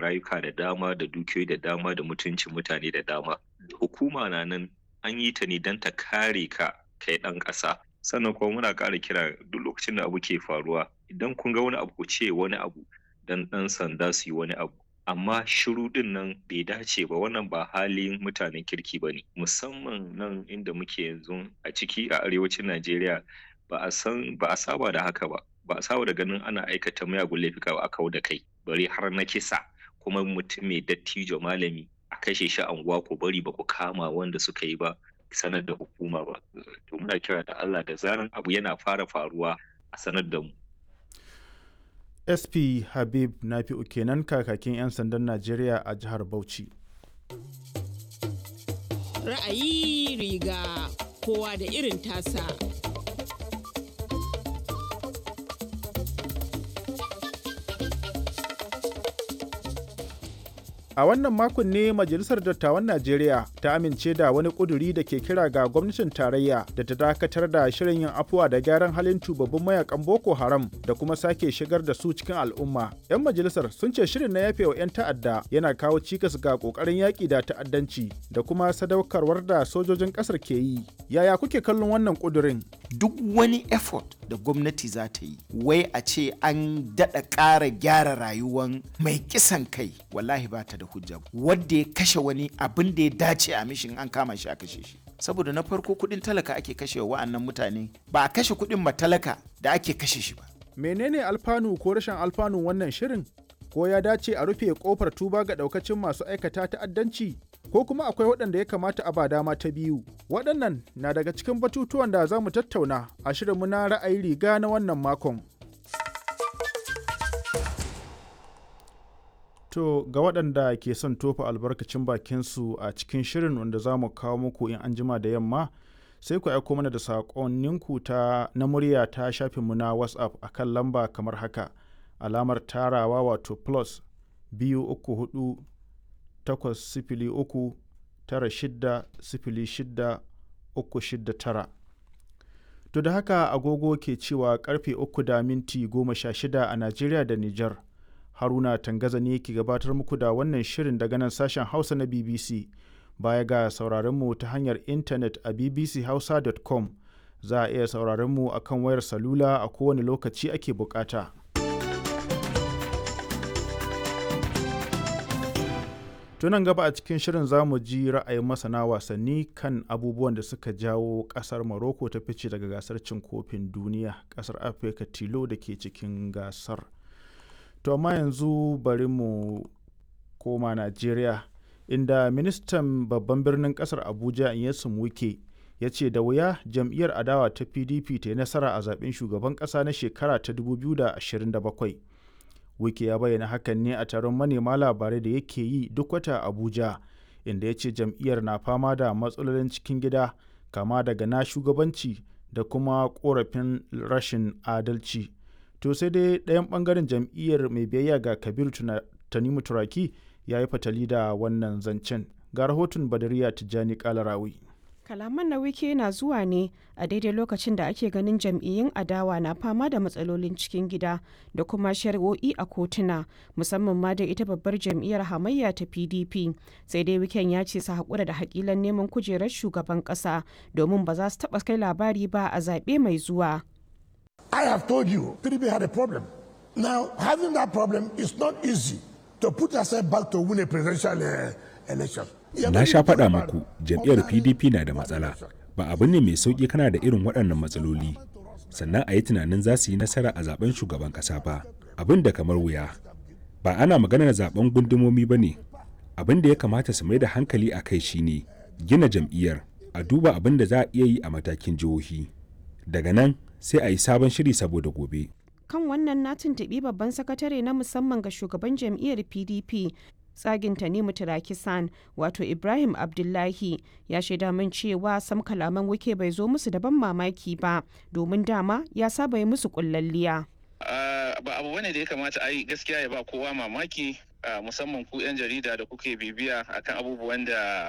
rayuka da dama da dukiyoyi da dama da mutuncin mutane da dama. Hukuma na nan an yi ta ne don ta kare ka kai ɗan ƙasa. Sannan kuma muna ƙara kira duk lokacin da abu ke faruwa, idan kun ga wani abu, ku ce wani abu don ɗan sanda su yi wani abu. Amma shiru ɗin nan bai dace ba, wannan ba halin mutanen kirki ba ne, musamman nan inda muke yanzu a ciki a arewacin Najeriya. Ba a san ba a saba da haka ba, ba a saba da ganin ana aikata miyagun laifuka ba a kau da kai, bare har na kisa, kuma mutum mai dattijo malami a kashe shi a unguwa, ku bari ba ku kama wanda suka yi ba, sanar da hukuma ba. To muna kira da Allah, da zaran abu yana fara faruwa a sanar da mu. SP Habib Nafi'u kenan, kakakin 'yan sandan Najeriya a jihar Bauchi. Ra'ayi riga kowa da irin tasa. A wannan makon ne Majalisar Dattawan Najeriya ta amince da wani ƙuduri da ke kira ga gwamnatin tarayya da ta dakatar da shirin yin afuwa da gyaran halin tubabbin mayakan Boko Haram da kuma sake shigar da su cikin al'umma. 'Yan majalisar sun ce shirin na yafewa 'yan ta'adda yana kawo cikas ga ƙoƙarin yaƙi da ta'addanci da kuma sadaukarwar da sojojin ƙasar ke yi. Yaya kuke kallon wannan ƙudurin? Duk wani effort da gwamnati za ta yi, wai a ce an daɗa ƙara gyara rayuwan mai kisan kai, wallahi ba ta da hujja. Wanda ya kashe wani, abin da ya dace a mishin an kama shi a kashe shi. Saboda na farko, kuɗin talaka ake kashe wa wa'annan mutane, ba a kashe kuɗin matalaka da ake kashe shi ba. Menene alfanu ko rashin alfanun wannan shirin? Ko ya dace a rufe kofar tuba ga daukacin masu aikata ta'addanci? Ko kuma akwai waɗanda ya kamata a ba dama ta biyu? Waɗannan na daga cikin batutuwan da za mu tattauna a shirinmu na ra'ayi riga na wannan makon. To ga waɗanda ke son tofa albarkacin bakinsu a cikin shirin wanda za mu kawo muku in an jima da yamma, sai ku aiko mana da saƙonninku ta na murya ta shafinmu na WhatsApp a kan lamba kamar haka: alamar tarawa wato plus 234 803 96 06 69. To da haka agogo ke cewa karfe 3:16 a Najeriya da Nijar. Haruna Tangaza ne ke gabatar muku da wannan shirin daga nan sashen Hausa na BBC. Baya ga sauraronmu ta hanyar intanet a bbchausa.com, za a iya sauraronmu a kan wayar salula a kowane lokaci ake bukata. Tunan gaba a cikin shirin za mu ji ra'ayin masana wasanni kan abubuwan da suka jawo kasar Morocco ta fice daga gasar cin kofin duniya, kasar Afirka tilo da ke cikin gasar. To amma yanzu bari mu koma Najeriya, inda ministan babban birnin kasar Abuja Nyesom Wike ya ce da wuya jam'iyyar adawa ta PDP ta yi nasara a zaben shugaban kasa na shekara ta 2027. Wike ya bayyana hakan ne a taron manema labarai da yake yi duk wata Abuja, inda ya ce jam'iyyar na fama da matsalolin cikin gida kama daga na shugabanci da kuma korafin rashin adalci. To sai dai ɗayan ɓangaren jam'iyyar mai biyayya ga Kabiru Tanimu Turaki ya yi fatali da wannan zancen. Ga rahoton Badariya Tijjani Kalarawi. Kalaman na Wike na zuwa ne a daidai lokacin da ake ganin jam'iyyun adawa na fama da matsalolin cikin gida da kuma shari'o'i a kotuna, musamman ma da ita babbar jam'iyyar hamayya ta PDP. Sai dai Wiken ya ce su haƙura da haƙilan neman kujerar shugaban ƙasa domin ba za su taɓa kai labari ba a zaɓe mai zuwa. I have told you, PDP had a problem. Now, having that problem is not easy to put yourself back to win a presidential election. Na sha faɗa muku jam'iyyar PDP na da matsala. Ba abu ne mai sauƙi kana da irin waɗannan matsaloli. Sannan a yi tunanin za su yi nasara a zaben shugaban ƙasa ba. Abin da kamar wuya. Ba ana maganar zaben gundumomi ba ne. Abin da ya kamata su mai da hankali a kai shine gina jam'iyyar, a duba abin da za a iya yi a matakin jihohi. Daga nan sai a yi sabon shiri saboda gobe. Kan wannan na tuntuɓi babban sakatare na musamman ga shugaban jam'iyyar PDP tsagin Tanimu Turakisan, wato Ibrahim Abdullahi, ya shaida min cewa sam kalaman Wike bai zo musu da ban mamaki ba, domin dama ya saba yi musu kullalliya. Ba abu bane da ya kamata a yi gaskiya ya ba kowa mamaki, musamman ku 'yan jarida da kuke bibiya akan abubuwan da